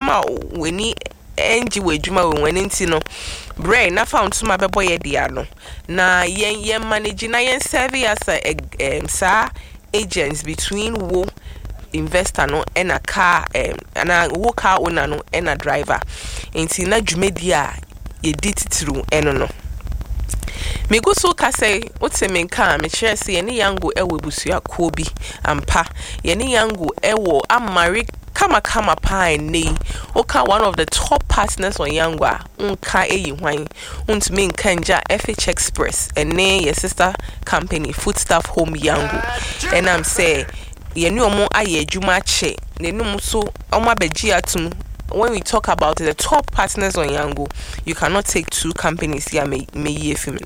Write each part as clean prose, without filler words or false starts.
Ɛbɛma w'ani ɛngye wɔ adwuma wɔ mu. Ɛno nti no, brɛ na fa wo ntoma bɛbɔ yɛ dea no na yɛn manage na yɛn serve as a saa agents between wo investor no ɛna car anaa wo car owner no ɛna driver. Nti na dwumadie a yɛdi titiriw ɛno no, megu so kasa yi, wote me nka a, mekyerɛ sɛ yɛne Yango ɛwɔ abusuakuo bi ampa. Yɛne Yango ɛwɔ amare kamakama paa. Ɛnnɛ yi, woka one of the top partners on Yango a, nka ɛyi hwan? Wontumi nka ngya FH Express ɛne yɛ sister company Foodstuff Home Yango, ɛnam sɛ yɛne ɔmo ayɛ adwuma akyɛ n'anum so, ɔmo abɛgye atum. When we talk about the top partners on Yango, you cannot take two companies here meyi efi mu.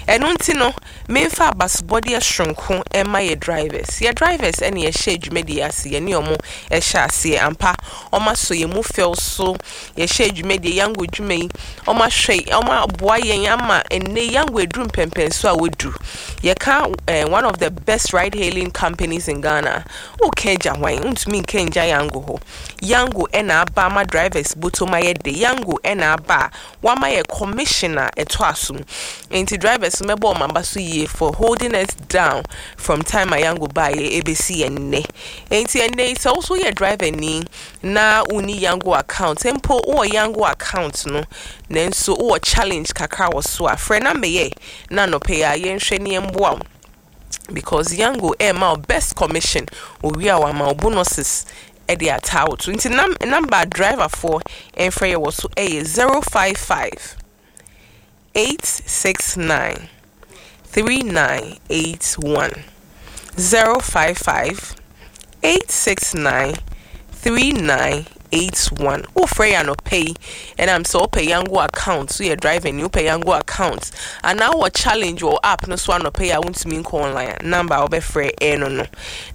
Ɛno nti no, memfa abasobɔdeɛ soronko ɛma yɛ drivers. Yɛ drivers ɛne yɛhyɛ dwumadie ase, yɛne ɔmo ɛhyɛ aseɛ ampa. Ɔmo asɔ yɛn mu fɛw so yɛhyɛ dwumadie Yango dwuma yi. Ɔmo ahwɛ, ɔmo aboa yɛn ama ɛnɛ Yango eduru mpɛmpɛnso a wɔduru. Yɛka one of the best ride hailing companies in Ghana, woka agya hwan? Ntumi nka ngya Yango hɔ. Yango ɛna aba ama drivers bɔtɔm ayɛ de. Yango ɛna aba a wama yɛ commission a ɛtɔ asom. Nti drivers mɛbɔ ɔmo aba so yie for holding us down from time a Yango baayɛ ebesi ɛnnɛ. Nti ɛnnɛ yi, sɛ woso yɛ driver ni na wonni Yango account, mpo wowɔ Yango account no nanso wowɔ challenge kakra wɔ so a, frɛ number yɛ na anɔpɛ yi a yɛnhwɛ ne yɛmboa wo, because Yango ɛma wo best commission owie a, wama wo bonuses ɛde ataa wo to. Nti number driverfoɔ ɛmfrɛ yɛ wɔ so ɛyɛ 055 869 3981, 055 869 3981. Wofrɛ yɛ anɔpɛ yi, ɛnam sɛ wopɛ Yango account, woyɛ driver ni, wopɛ Yango account anaa wowɔ challenge wɔ app no so anɔpɛ yi a wontumi nkɔ online a, number a wobɛfrɛ ɛno no.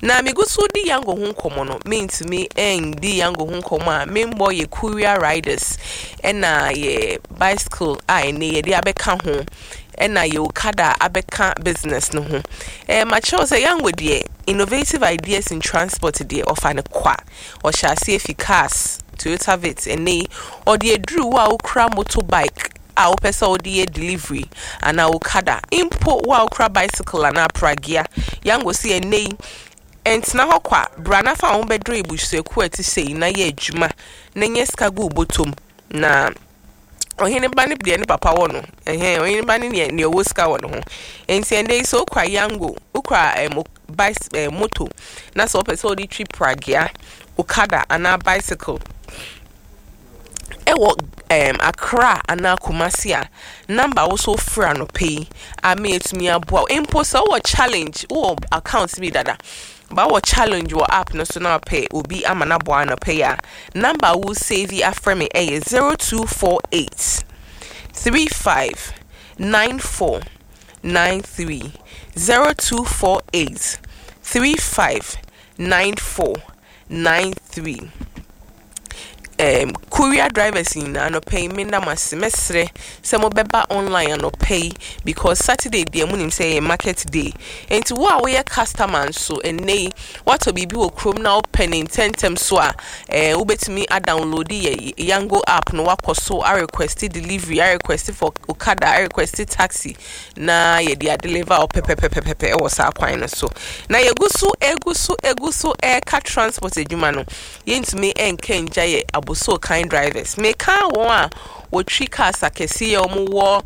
Na megu so di Yango ho nkɔmmɔ no, mentumi ɛndi Yango ho nkɔmmɔ a membɔ yɛ courier riders ɛna yɛ bicycle a ɛnɛ yɛde abɛka ho, ɛna yɛ okada abɛka business no ho. Makyerɛw sɛ Yango deɛ, innovative ideas in transport deɛ, ɔfa ne kwa. Ɔhyɛ aseɛ fi cars, Toyota Vitz, ɛnɛ yi ɔde aduru wo a wokura motorbike a wopɛ sɛ wode yɛ delivery anaa okada, mpo wo a wokura bicycle anaa pragea. Yango si ɛnɛ yi, ɛntena hɔ kwa, bra na fa wo ho bɛduru ebusuakuo a ɛte sɛ yi na yɛ adwuma na nyɛ sika gu wo bɔtɔm. Na ɔhene ba ne deɛ ne papa wɔ no ɛhɛn, ɔhene ba ne deɛ ɔwɔ sika wɔ ne ho. Nti ɛnɛ yi, sɛ wokura Yango, wokura bicy moto na sɛ wopɛ sɛ wode twi pragea, okada anaa bicycle ɛwɔ Accra anaa Kumasi a, number wo so frɛ anɔpɛ yi a me yɛtumi aboa wo. Mpo sɛ wowɔ challenge, wowɔ account bi dada ba, wɔ challenge wɔ app no so na wapɛ obi ama no aboa anɔpɛ yi a, number a wo save afrɛ me ɛyɛ 0248 35 94 93, 0248 35 94 93. Courier drivers nyinaa, anɔpɛ yi menda mo ase. Mɛsrɛ sɛ mobɛba online anɔpɛ yi, because Saturday deɛ, munim sɛ ɛyɛ market day. Nti wo a woyɛ customer nso, ɛnnɛ yi woatɔ biribi wɔ kurom na wopɛ ne ntɛntɛm so a, wobɛtumi adownload yɛ Yango app no, wakɔ so arequest delivery, arequest for okada, arequest taxi na yɛde adeliver wo pɛpɛpɛpɛpɛ ɛwɔ saa kwan no so. Na yɛgu so, egu so, egu so ɛreka transport adwuma no, yɛntumi ɛnka ngya yɛ aboso kan drivers. Meka wɔn a wɔtwi cars akɛseɛ a wɔwɔ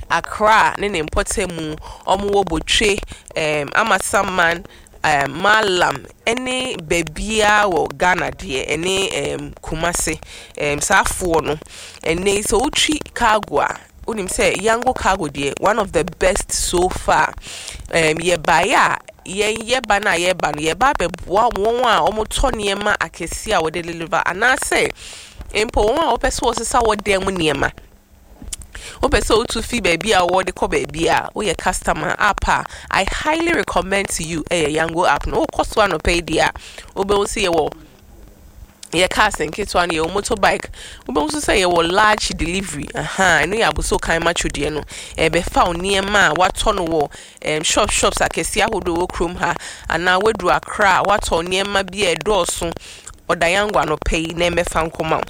Accra ne ne mpɔtamu, wɔwɔ Botwe, Amasaman, Malam ɛne baabiara wɔ Ghana deɛ, ɛne Kumase, saa afoɔ no. Ɛnɛ yi, sɛ wotwi cargo a, wonim sɛ Yango Cargo deɛ, one of the best so far. Yɛbaeɛ a, yɛn yɛba no a, yɛba no, yɛba abɛboa wɔn a wɔtɔ nneɛma akɛseɛ a wɔde deliver, anaasɛ mpo wɔn a wɔpɛ sɛ wɔsesa wɔ dan mu nneɛma, wopɛ sɛ wotu fi baabi a wɔde kɔ baabi a woyɛ customer app a, I highly recommend to you ɛyɛ Yango app no. Wokɔ so anɔpɛ yi deɛ a, wobɛhu sɛ yɛwɔ yɛ cars nketewa no, yɛwɔ motorbike, wobɛhu nso sɛ yɛwɔ large delivery. Aha, ɛno yɛ aboso kan matwo deɛ no, ɛbɛfa wo nneɛma a watɔ no wɔ shops akɛseɛ ahodoɔ wɔ kurom ha, anaa waduru Accra a watɔ nneɛma bi a ɛdɔɔso. Ɔda Yango anɔpɛ yi na ɛmɛfa nkɔma wo.